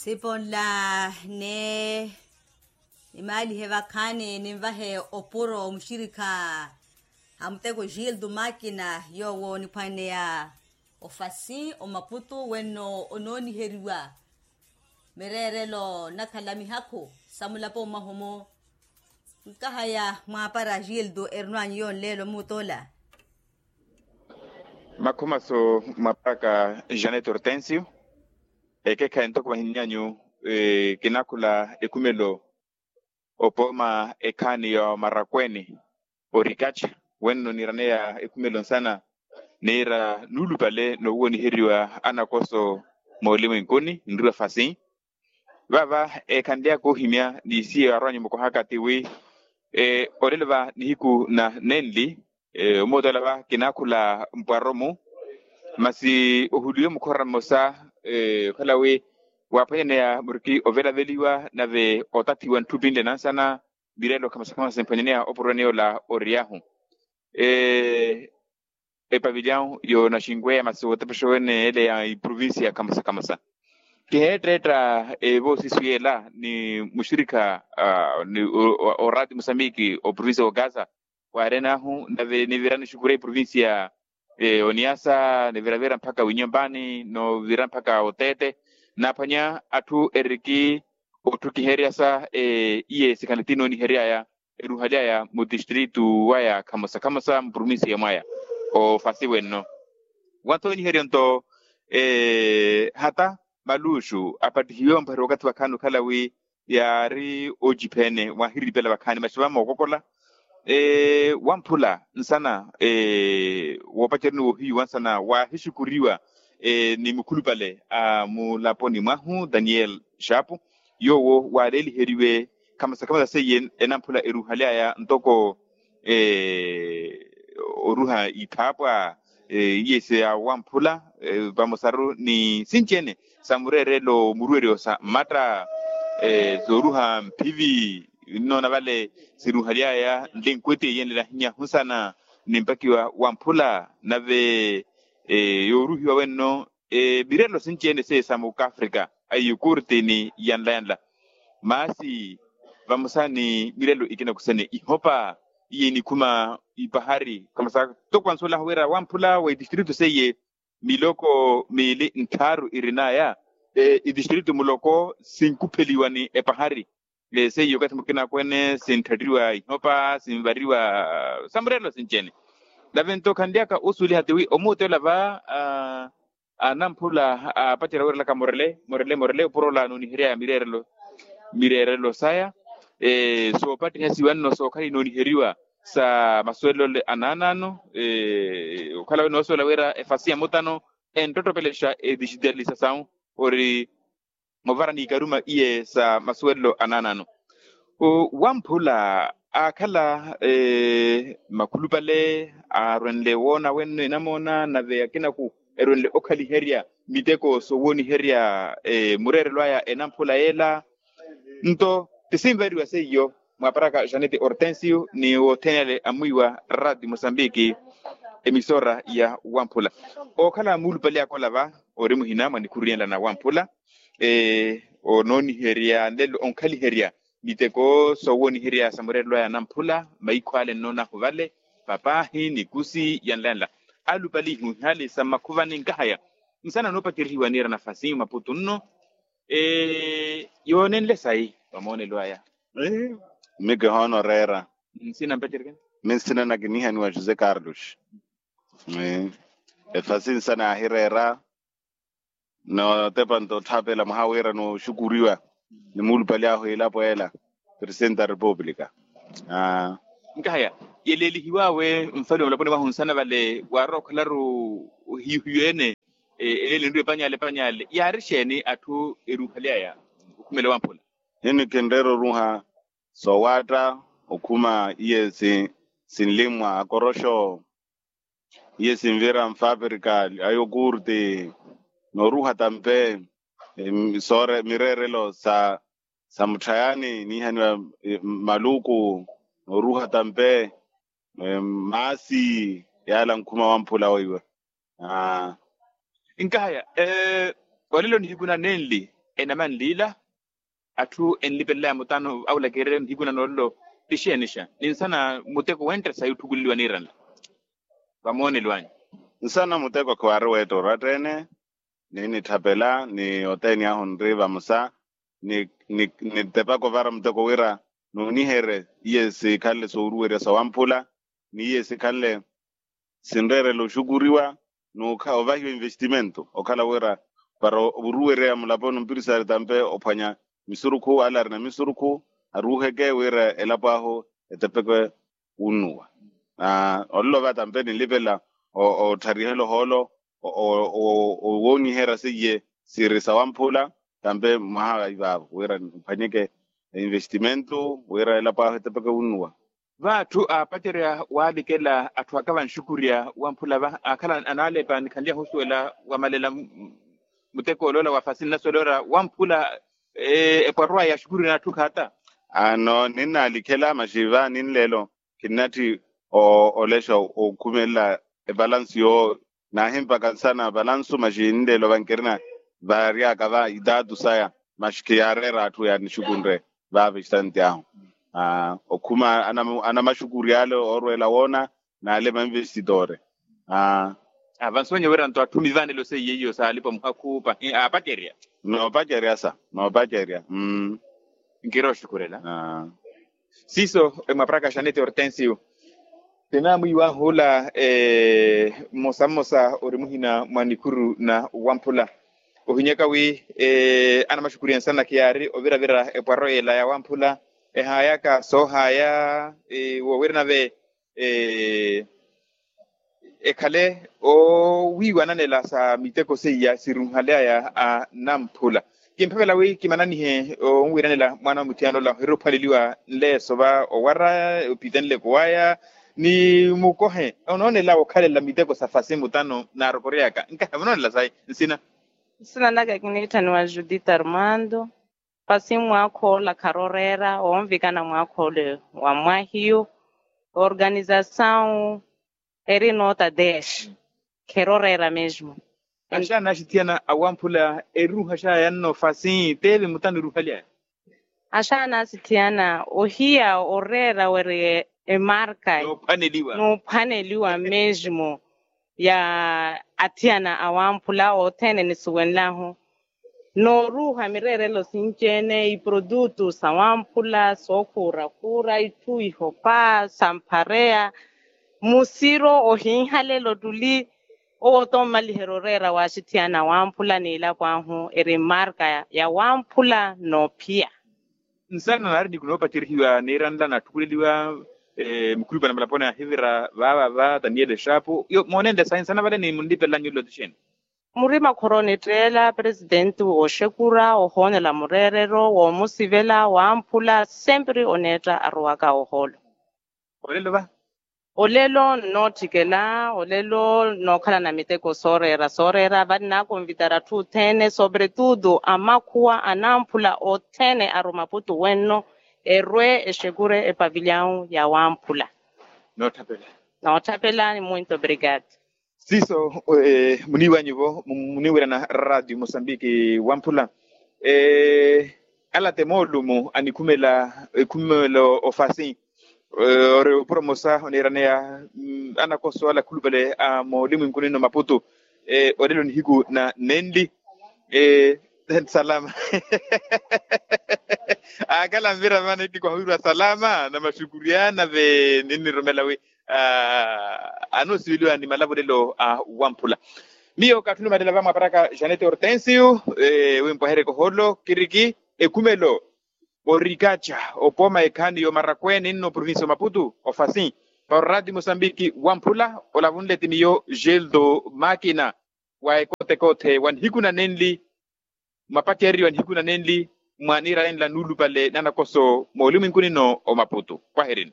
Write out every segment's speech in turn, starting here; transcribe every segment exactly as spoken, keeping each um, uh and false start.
Siponla ni nimaalihe vakhaani ninvahe opuro muxirikha a muteko gildo makina yoowo niphwaneya ofasi omaputu wenno onooniheriwa mireerelo nakhala mihakhu sa mulapo mwahumo. Nkahaya mwaapara gildo erino anyu yonleelo mutola. Makhumasu mwaparaka janet hortensio. Ekekhayi ntoko vahinnyanyu kinaakhula ekhumelo opooma ekhaani ya omarakweeni orikattha wenno niiraneya ekhumelo nsana niira nuulupale noowoniheriwa anakoso moolimwenkuni nriwa fasi. Vaava ekhanlyaka ohimya ni isiye arwanyu mukohaka tiwi olelo va nihiku na nenli. Omootela va kinaakhula mpwaro-mu masi ohuliwe mukhora mmosa okhala wi waaphwanyaneya muriki ovelaveliwa nave otathiwa ntthu pinle nansana. Mirelo khamasa khamasa emphwanyaneya opuroni ola oriyahu epavilyahu yoonaxinweya masi wootepexewene ele ya iprovincia khamasa khamasa. Kiheetteetta evoosisu yeela ni muxirikha ni orati musambiki oprovincia wa gaza. Waarenaahu nave nivirani xukura iprovincia oniasa niviravira mpakha winyompani novira mpakha oteete naaphwanya atthu eriki otthukiheryasa iye sikhani tinooniheryaya eruhalyaya mutistritu waya khamosa khamosa muprovincia mwaya ofasi wenno. Wantooniheryo nto hata maluxu apattihiwe omphwere wakathi wakhaani okhala wi yaari ocipheene waahiripela vakhaani maxi vamookokola wamphula nsana woopacerya ni woohiyuwa nsana waahixukuriwa ni mukhulupale a mulaponi mwahu daniel xaapu yoowo waaleeliheriwe khamasa khamasa seiye enamphula eruhalyaya ntoko oruha iphaapwa iye siyawamphula vamosaru ni sinci-ene sa mureerelo muruweryo sa mmatta sooruha mphivi nnoona vale siruhalyaya nlenkweti eyenlela ahinyahu nsana ni mpakiwa wamphula nave yooruhiwa wenno mireerelo sinci-ene seiye sa mukaafrika a iyukurti ni yanla yanla. Maasi vamosa ni mireerelo ikinakusene ihopa iye inikhuma ipahari khamasa toko ansuwelaho wira wamphula wa itistritu seiye miloko miili nttharu irinaya itistritu muloko sinkupheliwa ni epahari seiyo okathi mukina akwene sintthatiwa ihopa sinvariwa sa mureerelo sinci-ene. Nave nto khanlyaka osuweliha tiwi omuuteela va anamphula aapacerya wirelaka morele morele morele opuro ola anooniheryaya mireerelo mireerelo saya soopattihasiwa nno sookhala inooniheriwa sa masuwelelo anaanaano okhala wi noosuwela wira efasi ya mutano enttottopelexa edijitalisasawu ori movara n'ikaruma iye sa masuwelelo anaanaano wamphula aakhala makhulupale arwenle woona wenno enamoona nave akinaku erwenle okhaliherya miteko soowooniherya mureerelo aya enamphula yeela nto tisinvariwa seiyo mwaparaka janete hortensio ni wothene ale amwiiwa radio mosambiki emisora ya wamphula ookhala muulupale akola va ori muhina mwa nikhuru yenla na wamphula onooniherya nlelo onkhaliherya miteko soowooniherya sa mureerelo aya anamphula maikho ale nnoonahu vale papaahi nikusi yanla yanla alupale ihuhali sa mmakhuvani nkahaya nsana noopacerihiwa niira nafasi maputu nno yoonenle sayi vamoonelo aya. Miki hoona oreera nsina mpacerikeni. Minsina nakinihaniwa josé carlos efasi nsana yaahireera nootepa nto otthapela mwaha wira nooxukuriwa ni muulupale ahu elapo ela presidente da república. Nkahaya yeleelihiwawe nfali wa mulaponi mwahu nsana vale waarwa okhalaru ohiyu-hiyu ene eleele nriwe panyale panyale yaari xeeni atthu eruuhalyaya okhumela wamphula? Hini kinreera oruha soowaatta okhuma iye sinlimwa akoroxo iye sinvira nfaprika ayokurti nooruha tampe soore mireerelo sa sa mutthayani niihaniwa maluku nooruha tampe maasi yaala nkhuma wamphula weiwe. Nkahaya olelo nihiku na nenli enamanliila atthu enlipelelaya mutano awulakererya nihiku na noolelo? Tixeenixa ninsana muteko wentta sayi otthukuleliwa niiranla vamoonelo anyu. Nsana muteko khiwaari weetta oratteene ni nitthapela ni oteeni ahu nri vamosa ni nitepaka ovara muteko wira nuuniherye iye sikhanle sooruwerya sawamphula ni iye sikhanle sinreerela oxukuriwa n'ovahiwa investimento okhala wira para oruwereya mulaponi ompirisari tampe ophwanya misurukhu ale arina misurukhu aruuheke wira elapo ahu etepeke wunnuwa. Olelo va tampe ninlipela otthariha elohoolo owooniherya seiye siri sawamphula tampe mwaha ivaavo wira niphwanyeke investimento wira elapo ahu etepeke wunnuwa. Vaatthu aapacerya waalikela atthu aka vanxukurya wamphula va akhala anaalepa nikhanlyaha osuwela wamalela muteko oloola wa fasi nnasuwela ora wamphula epwarwa ya xukurya n'atthu khaata. Ano ninnaalikhela maxi va ninleelo khinnatthi olexa okhumelela evalansu yoowo naahimpaka nsana valansu maxi ninleelo vankirina varyaka va itaatu saya maxi khiyaareera atthu yaanixukunre vaava exitante ahu okhuma anamaxukurya ale oorweela woona n'ale mainvestitore. Avansonye wira nto atthumi vaanelo seiye iyo saalipa muhakhu pahi aapacerya. Noopacerya sa noopacerya. Nkira oxukurela siiso emwaparaka xanete hortensio. Tinamwiiwahu ola mmosa mmosa ori muhina mwa nikuru na wamphula ohinyaka wi anamaxukurya nsana khiyaari oviravira epwaro ela ya wamphula ehaayaka soohaaya woowira nave ekhale owiiwananela sa miteko seiya sirunhaly'aya anamphula. Kimphavela wi kimananihe onwiiranela mwaana wa muthiyana ola ohiri ophwaneliwa nleeso va owara opitenleko waya ni mukohe onoonela wokhalela miteko sa fasi mutano naarokoryaka nkahi onoonela sayi nsina. Nsina naka kiniitthaniwa judith armando. Fasi mwaakha ola kharoreera wonvikana mwaakha ole wa mwahiyu organizasawu eri noota desh. Kheroreera mesmo. Axaana axithiyana awamphula eruuha xaayanno fasi teeve mutano eruuhaly'aya. Axaana axithiyana ohiya oreera weri emarka noophwaneliwa mesmo ya athiyana awamphula othene nisuwenlahu. Nooruuha mireerelo sinci-ene iprodutu sawamphula sookhuura khuura itthu ihopa samphareya musiro ohinhalelo ttuli. Owo oto mmaliherya oreera waaxithiyana wamphula n'ilapo ahu eri mmarka ya wamphula noophiya. Nsana naari niku noopaceryihiwa niiranla natthukuleliwa mukhulupale na malaponi ahivira vaava va taniyeli exaapu moonenle sahi nsana vale ni munlipela nyulo tixeeni. Murima khoro onitteela presitenti wooxekura ohoonela mureerero woomusivela wamphula sempre oneetta aruwaka ohoolo. Olelo va olelo nnootthikela olelo nnookhalana miteko sooreera sooreera vale naakonvitara atthu othene sobretudo amakhuwa anamphula othene arumaputu wenno erwe exekure epavilyawu ya wamphula. Nootthapela. Nootthapela ni muito obrigado. Siiso muniiwanyu-vo muniwirana radio mosambiki wamphula. Alate moolumu anikhumela ekhumelo ofasi ori opuro mosa oniiraneya anakoso ala akhulupale a moolimu inkunino maputu. Olelo nihiku na nenli salama. Akala nvira vana itikwahwirwa salama na maxukuryana ve ninnirumela wi anoosiveliwa ni malavolelo a wamphula. Miyo kaatthulumalela vamwaparaka janete hortensio wimpwahereke ohoolo kiriki ekhumelo orikaca opooma ekhaani yoomarakweene nno provincia omaputu ofasi. Para orati mosambiki wamphula olavunle ti miyo gildo makina wa ekotekoothe wa nihiku na nenli mwapacererye wa nihiku na nenli mwa niira nenla nuulupale nanakoso moolumwinkunino omaputu. Pwaherini.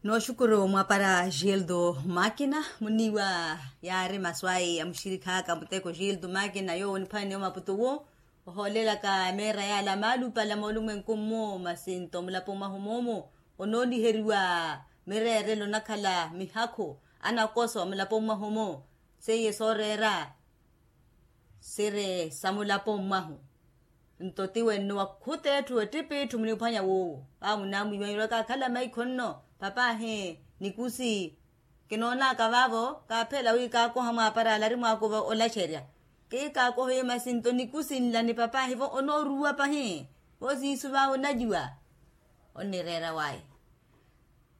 Nooxukuru mwapara gildo makina muniiwa yaari masu ayi ya muxirikhaaka muteko gildo makina yoowo oniphwanene omaputu wo ohoolelaka meera yaala maalupale moolumwenku mmo masi nto mulapo mwahu moomo onooniheriwa mireerelo onakhala mihakhu anakoso mulapo mwahu mo seiye sooreera. siri sa mulapo mwahu. Nto tiwenno wakhuta etthu ettipitthu muniphwanya woowo. Vaamunamwiiwanyerya okaakhala maikho nno. Papaahi nikusi kinoonaka vaavo kaaphela wi kaakoha mwaaparaala ari mwaakuva olacerya. Kii kaakoha iyo masi nto nikusi nla ni papaahi vo onooruwa pahi. Vo siisu vaavo onajuwa. Onnireera waya.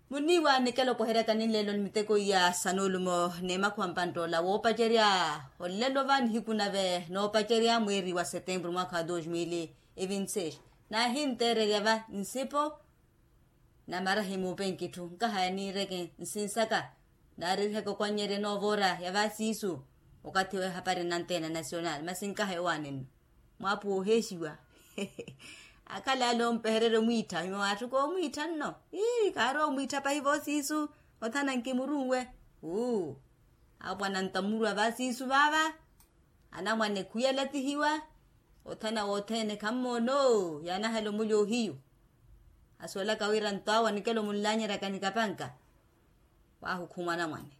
Muniiwa nikela opoheryaka ninlelo ni miteko iya sa nuulumo ni makhuwa mpanttoola woopacerya. Olelo va nihiku nave noopacerya mweeri wa setempuru mwaakha wa dos mil e vinte seis. Naahinteererya va nsipo namara himuupenki itthu nkahaya niireke nsinsaka. Naaririheke okwannyerya enoovora ya vaasiisu okathi w'ehapari nanteena nasional masi nkahaya owaani nno. Mwaapuwa oheexiwa. Akhala ale ompehererya omwiittha himwe waatthuka omwiittha nno. Ii kaarowa omwiittha pahi voosiisu. Othana nkimurunwe. Uu. Apwana ntamurwa vaasiisu vaava. Anamwane khuyalatihiwa. Othana wothene khammoona oo yaanahela omulya ohiyu. Asuwelaka wira nto awo anikela omunlanyeryaka ni kapanka. Waahukhumwa anamwane.